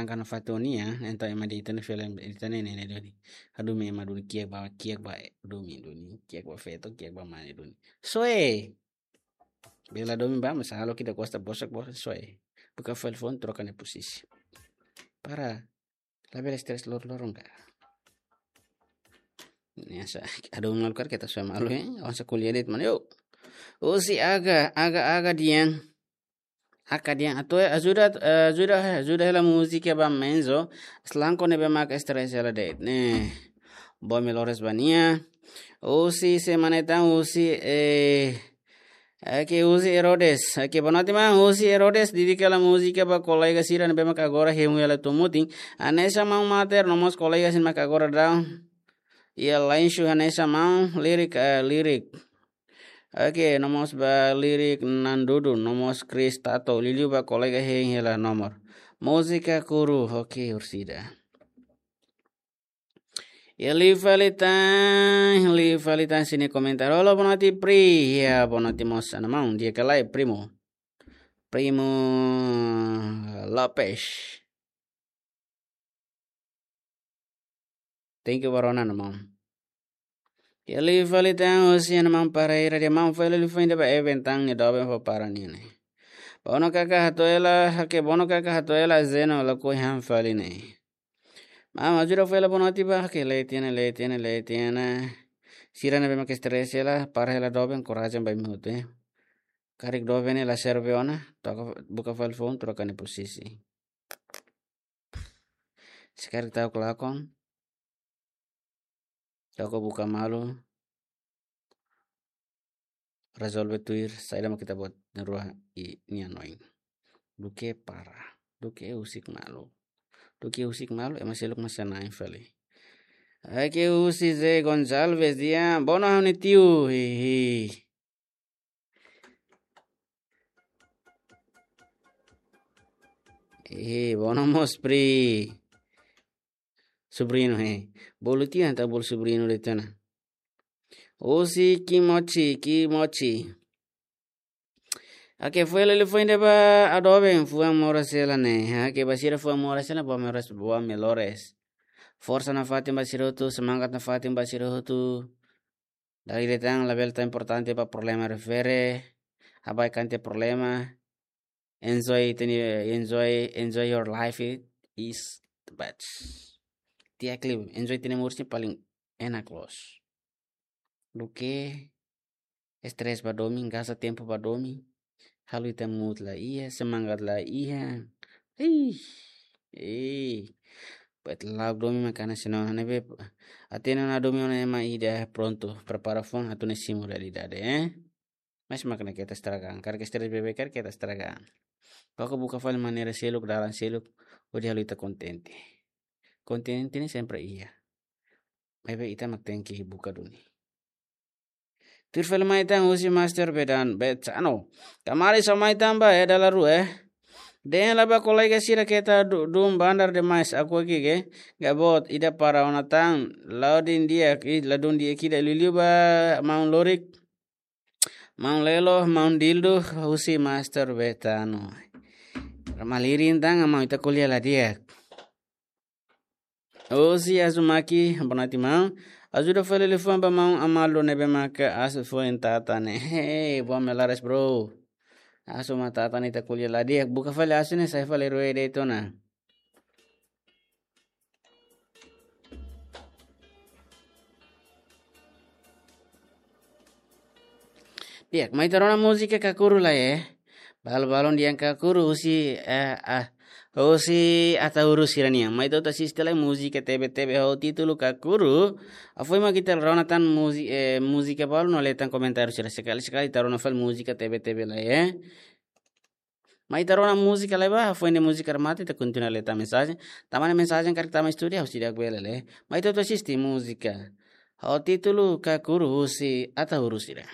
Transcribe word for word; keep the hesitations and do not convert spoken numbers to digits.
Karena fatin nian, entaun ema de'it ita-nia fali, ita-nia ne'e ne'e duni. Hadomi ema duni, kiak ba, kiak ba, domin duni, kiak ba feto, kiak ba mane duni. Soe. Bele la domin ba, mas halo ita gosta bosak-bosak, soe. Buka fali foun, troka nia posisi. Para labele estrés loron-loron ka. Ne'e sa, hadomi malu karik ita soe malu, eh? Avansa ko'alia de'it, mano, yo. Husi Aga, Aga, Aga Dian. Aga Dian, atu, eh, ajuda, eh, ajuda, ajuda hela múzika ba Menzo. Selalu ne'ebé maka estrés hela de'it, ne'e. Boa melhoras ba nia. Husi, sé mak ne'e tan, husi, eh, oke, husi Herodes. Oke, boa noite, maun. Husi Herodes, dedika hela múzika ba kolega sira ne'ebé maka agora hemu hela to'o mutin. Hanesan maun Mater, no mós kolega sira maka agora daudaun iha lanshu, hanesan maun Lirik, eh, Lirik. Oke, no mós ba Lirik Nandudu, no mós Chris Tato, liuliu ba kolega hein hela nomor. Múzika Kuru, oke, orsida. Iha liu fali tan, liu fali tan sira-nia komentáriu. Halo, boa noite, Pri. Ya, boa noite mós, maun. Di'ak ka lae, primo? Primo Lopes. Thank you ba rona, maun. Iha liu fali tan, husi maun Paraira de'it, maun, fali liafuan ida ba Eben tan, nia doben fó para nia ne'e. Bono kaka hato'o hela, oke, bono kaka hato'o hela, Zeno lakohi han fali ne'e. Maun, ajuda fali hela boa noite ba, oke, leten, leten, leten. Sira ne'ebé maka estrés hela, para hela doben, korajen ba imi hotu, eh. Karik doben ne'e la serve ona, troka, buka fali foun, troka nia posisi. Se karik ta'uk lakon, toko buka malu, rezolve tuir, saida mak ita-boot na'in-rua nian oin. Duké para, duké husik malu. Duké husik malu, ema seluk mak sai na'in fali. Oke, husi Zé Gonçalves dehan, bono ha'u-nia tiu, hihi. Eh, bono mós Pri. Sobriñu, eh. Bolu tiu entaun bolu sobriñu de'it ona. Husi Kimochi, Kimochi. Oke, fó hela liafuan ida ba Adobe, fuan moras hela ne'e. Oke, ba sira fuan moras hela, boa melhoras, boa melhoras. Forsa nafatin ba sira hotu, semangat nafatin ba sira hotu. Dala ida tan, labele tau importante ba problema refere. Ha'u baibain iha problema. Enjoy ita-nia, enjoy, enjoy your life, it is the best. Di'ak liu, enjoy ita-nia moris ne'e paling enak loos. Duké estrés ba domin, gasta tempu ba domin. Halo ita mood la iha, semangat la iha. Ih, eh. Buat la'o domin mak hanesan ne'e, ne'ebé hatene ona domin ona ema ida prontu, prepara foun atu ne'e simu realidade, eh. Mas mak ne'e keta estraga an, karik estrés beibeik karik keta estraga an. Koko buka fali maneira seluk, dalan seluk, hodi halo ita kontente. Kontente ne'e sempre iha. Maibé ita mak tenke buka duni. Tuir fali mai tan husi Master Bedan, Betsano. Kamari só mai tan ba, eh, dala rua, eh. Dehan lai ba kolega sira keta du-, dun bandar demais, aku aqui ke. Gabot, ida para ona tan, ladún di'ak, ih, ladún di'ak ida liuliu ba maun Lorik. Maun Lelo, maun Dildo, husi Master Betano. Malirin tan, maun, ita ko'alia la di'ak. Husi Azumaki, boa noite, maun. Ajuda fali liafuan ba maun Amado ne'ebé maka asu foin tata ne'e. Hey, boa melhoras, bro. Asu mak tata ne'e ita ko'alia la di'ak. Buka fali asu ne'e, sai fali rua de'it ona. Di'ak, mai ita rona múzika Kakuru lai, eh. Balun-balun dehan Kakuru husi, eh, ah, husi Ataúru sira-nian. Mai ita hotu asiste lai múzika tebe-tebe ho títulu Kakuru. Ha'u foin mak ita rona tan múzi-, eh, múzika balu no lee tan komentáriu sira, sekali-sekali ita rona fali múzika tebe-tebe lai, eh. Mai ita rona múzika lai ba, foin ne'e múzika remata, ita kontinua lee tan mensajen. Tanba ne'e mensajen karik tama estúdiu, ha'u seidauk bele lee. Mai ita hotu asiste múzika ho títulu Kakuru husi Ataúru sira.